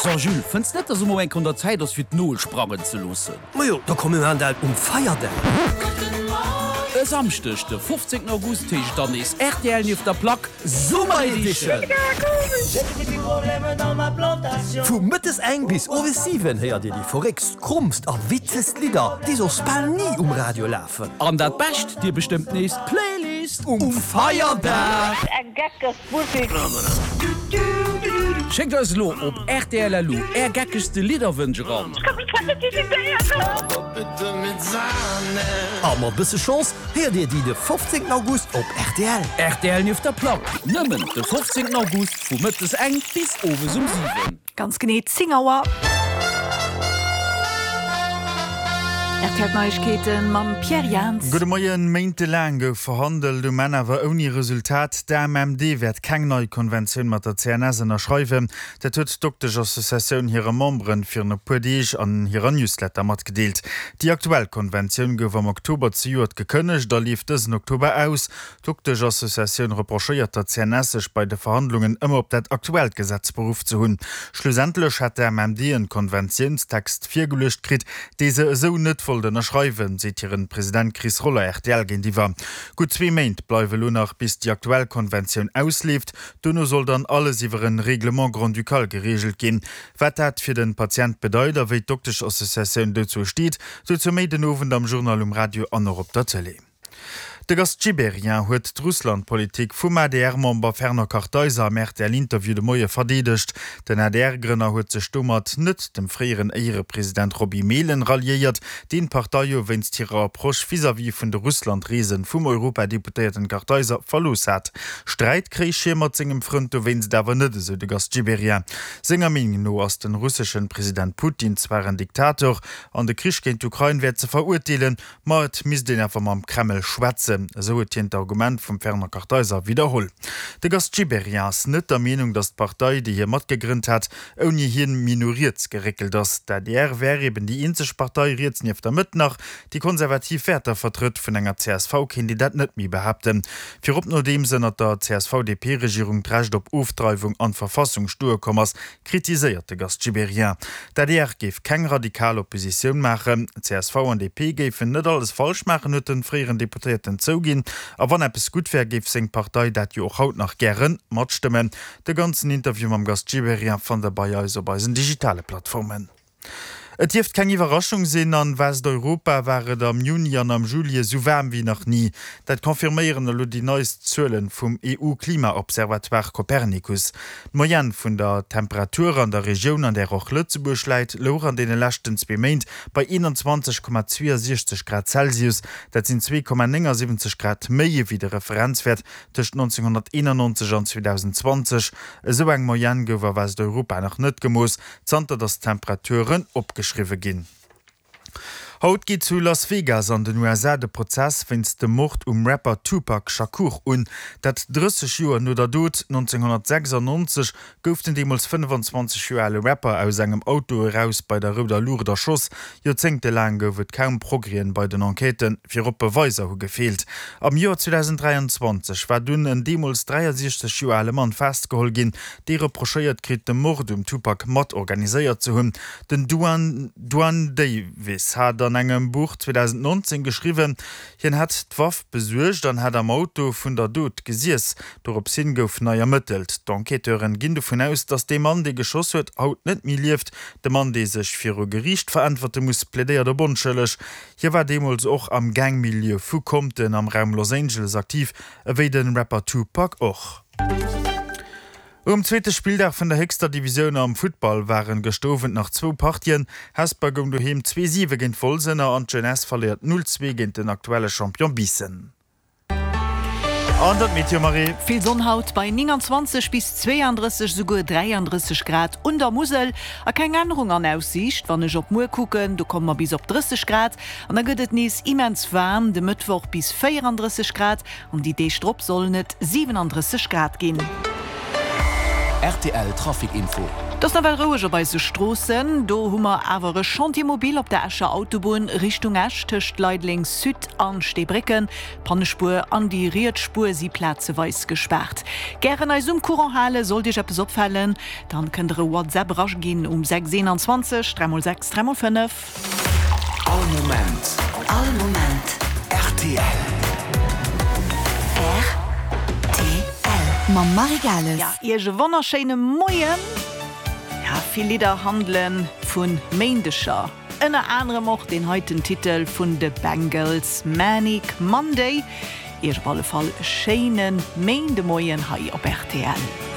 So Jules, fënns net dass emol eng Kéier un der Zäit ass fir d'Nol sprangen ze loossen? Majo, da komm mir maan dat um Feierdag. E Samschdeg de 15 August heescht et dann nees rtl nieft der Plack Summer Edition! Vu mëttes eng bis owes 7 héiert dir déi verréckst, krommst a witzegst Lidder, déi soss bal ni um Radio lafen. An dat Bescht, dir bestëmmt nees d'Playlist um Feierdag! Schéckt eis elo op rtl.lu är geckegste Lidderwënsch eran. A mat bësse Chance héiert dir déi de 15 August op rtl. Rtl nieft der Plack, nëmmen de 15 August vu mëttes eng bis owes um 7. Ganz genee 10 Auer. RTL Neiegkeete mam Pierre Jans. Gudde Moien. Méintelaang gouf verhandelt, um Enn awer ouni Resultat. D'AMMD wäert keng nei Konventioun mat der CNS ënnerschreiwen. Dat huet d'Doktesch-Associatioun hire Memberen virun e puer Deeg an hirer Newsletter matgedeelt. Déi aktuell Konventioun gouf am Oktober zejoert gekënnegt a leeft dësen Oktober aus. D'Doktesch-Associatioun reprochéiert der CNS, sech bei de Verhandlungen ëmmer op dat aktuellt Gesetz beruff ze hunn. Schlussendlech hätt d'AMMD en Konventiounstext virgeluecht kritt, dee se esou net wollt ënnerschreiwen, seet hiren President Chris Roller rtl géintiwwer. Gutt zwee Méint bleiwe lo nach, bis déi aktuell Konventioun ausleeft. Dono soll dann alles iwwer en Règlement grand-ducal gereegelt ginn. Wat dat fir den Patient bedeit a wéi d'Doktesch-Associatioun dozou steet, dozou méi den Owend am Journal um Radio an och op der Tëlee. De Gast Gibéryen huet d'Russland-Politik vum ADR-Member Fernand Kartheiser am RTL-Interview de Moie verdeedegt. Den ADR-Grënner huet sech domat net dem fréieren Éierepresident Roby Mehlen ralliéiert, deen d'Partei jo wéinst hirer Approche vis-à-vis vun de Russland-Reese vum Europadeputéierten Kartheiser verlooss hat. Sträit kréich hie mat sengem Frënd dowéinst awer net, esou de Gast Gibéryen. Senger Meenung no ass den russeschen President Putin zwar en Diktator an de Krich géint d'Ukrain wär ze verurteelen, Ma et misst een awer mam Kreml schwätzen, esou huet hien d'Argument vum Fernand Kartheiser widderholl. De Gast Gibéryen ass net der Meenung, datt d'Partei, déi hie matgegrënnt hat, ouni hien méi no riets geréckelt ass. D'adr wär eben déi eenzeg Partei riets nieft der Mëtt nach, déi konservativ Wäerter vertrëtt. Vun enger csv kéint een dat net méi behaapten. Virop nodeems ënnert der CSV-DP-Regierung d'Recht op Ofdreiwung an d'Verfassung stoe komm ass, kritiséiert de Gast Gibéryen. D'adr géif keng radikal Oppositioun maachen, csv an DP géifen net alles falsch maachen, huet de fréieren Deputéierten zouginn. A wann eppes gutt wär, géif seng Partei dat jo och haut nach gäre matstëmmen. De ganzen Interview mam Gast Gibéryen fannt der bei eis op eisen digitale Plattformen. Et dierft keng Iwwerraschung sinn, an Westeuropa war et am Juni an am Juli esou waarm wéi nach ni. Dat confirméieren elo déi neist Zuelen vum EU-Klimaobservatoire Copernicus. D'Moyenne vun der Temperatur an der Regioun, an där och Lëtzebuerg läit, louch an deene leschten zwee Méint bei 21,62 Grad Celsius. Dat sinn 2,79 Grad méi ewéi de Referenzwäert tëscht 1991 an 2020. Esou eng Moyenne gouf a Westeuropa nach net gemooss. Zanter datt d'Temperaturen opgeschriwwe ginn. Haut geet zu Las Vegas an den USA de Prozess wéinst dem Mord um Rapper Tupac Shakur un. Dat 30 Joer no der Dot. 1996 gouf den deemools 25 Joer ale Rapper aus engem Auto eraus bei der rouder Luucht erschoss. Joerzéngtelaang gouf et kaum Progrèsen bei den Enquêten, virop Beweiser hu gefeelt. Am Joer 2023 war dunn en deemools 63 Joer ale Mann festgeholl ginn, dee reprochéiert kritt, de Mord um Tupac mat organiséiert ze hunn. Den Duane Davis hat an engem Buch 2019 geschriwwen, hien hätt d'Waff besuergt an hätt am Auto vun der Dot gesiess. Dorops hin gouf nei ermëttelt. D'Enquêteuren ginn dovun aus, datt dee Mann, dee geschoss huet, haut net méi lieft. De Mann, dee sech viru Geriicht veräntwerte muss, plädéiert op onschëlleg. Hie war deemools och am Gang-Milieu vu Compton am Raum Los Angeles aktiv, ewéi de Rapper Tupac och. Um zweete Spilldag vun der héchster Divisioun am Futtball waren gëscht Owend nach zwou Partien. Hesper goung doheem 2, 7 géint Wolz ënner an d'Jeunesse verléiert 0, 2 géint den aktuelle Champion Biissen. An dat Meteo, Marie. Vill Sonn haut bei 29 bis 32, esouguer 33 Grad un der Musel a keng Ännerung an Aussiicht. Wann ech op muer kucken, do komme mer bis op 30 Grad an da gëtt et nees immens waarm, de Mëttwoch bis 34 Grad An déi Deeg drop sollen et 37 Grad ginn. Rtl Trafic Info. Et ass nawell roueg op eise Stroossen. Do hu mer awer e Chantier mobile op der Escher Autobunn Richtung Esch tëscht Leideleng Sud an Steebrécken. D'Pannespuer an déi riets Spuer si plazeweis gespaart. Gären eis um Courant halen, sollt Iech eppes opfalen, dann kënnt der e WhatsApp eraginn um 6 21 3 x 6 3 x 5. All Moment. All Moment. Rtl. Rtl. Mam Marie Gales. Ja, Iech e wonnerschéine Moien. Ja, vill Lidder handele vu Méindeger. Ënner anerem och deen heiten Titel vun de Bangles, Manic Monday. Iech op alle Fall e schéine Méindemoien hei op rtl.